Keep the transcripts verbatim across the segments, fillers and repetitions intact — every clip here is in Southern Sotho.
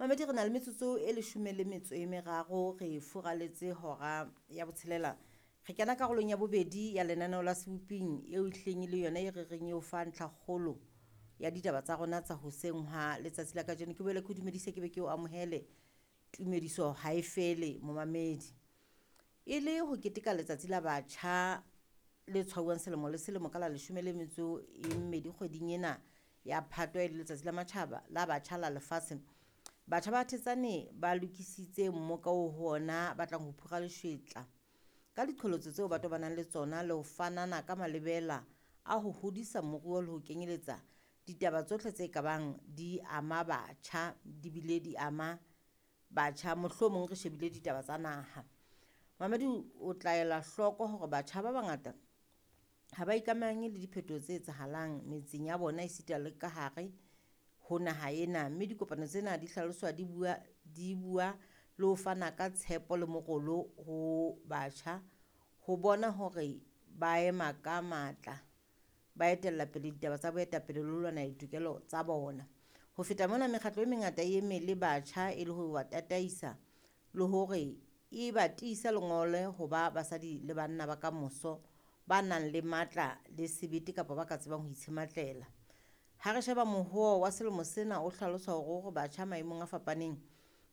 Mamedi re na le metsotso e leshome le metso e meraro re furaletse hora ya botshelela. Re kena karolong ya bobedi ya lenaneo la Seboping eo ehlileng e le yona e re reng eo fa ntlhakgolo ya ditaba tsa rona tsa hoseng ha letsatsi la kajeno. Ke boele ke o dumedise ke be ke o amohele tumediso ha e fele momamedi. E le ho keteka letsatsi la batjha le tshwauwang selemo le selemo ka la leshome le metso e mmedi kgweding ena ya Phato e le letsatsi la matjhaba la batjha la lefatshe. Batjha ba Thetsane ba lokisitse mmoka oo ho ona ba tlang ho phura leshwetla ka diqholotso tseo ba tobanang le tsona le ho fanana ka malebela a ho hodisa moruo le ho kenyeletsa ditaba tsohle tse kabang di ama batjha, di bile di ama batjha mohlomong re shebile ditaba tsa naha. Mamedi o tla ela hloko hore batjha ba bangata ha ba ikamahanye le diphetoho tse etsahalang metseng ya bona esita le ka hare ho naha ena, mme dikopano tsena di hlaloswa di bua, di bua le ho fana ka tshepo le morolo ho batjha ho bona hore ba ema ka matla, ba etella pele ditaba tsa boetapele le ho lwanela ditokelo tsa bona. Ho feta mona, mekgatlo e mengata e eme le batjha e le ho ba tataisa le hore e ba tiise lengole ho ba basadi le banna ba kamoso ba nang le matla le sebete kapa ba ka tsebang ho itshematlela. Ha re sheba mohoo wa selemo sena o hlalosa hore o re batjha maemong a fapaneng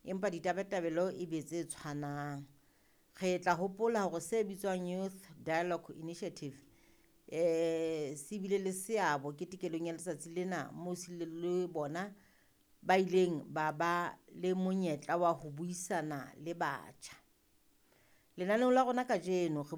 empa ditabatabelo e be tse tshwanang. Re tla hopola hore se bitswang Youth Dialogue Initiative eh se bile le seabo ketekelong ya letsatsi lena moo se le le bona ba ileng ba ba le monyetla wa ho buisana le batjha. Lenaneong la rona kajeno re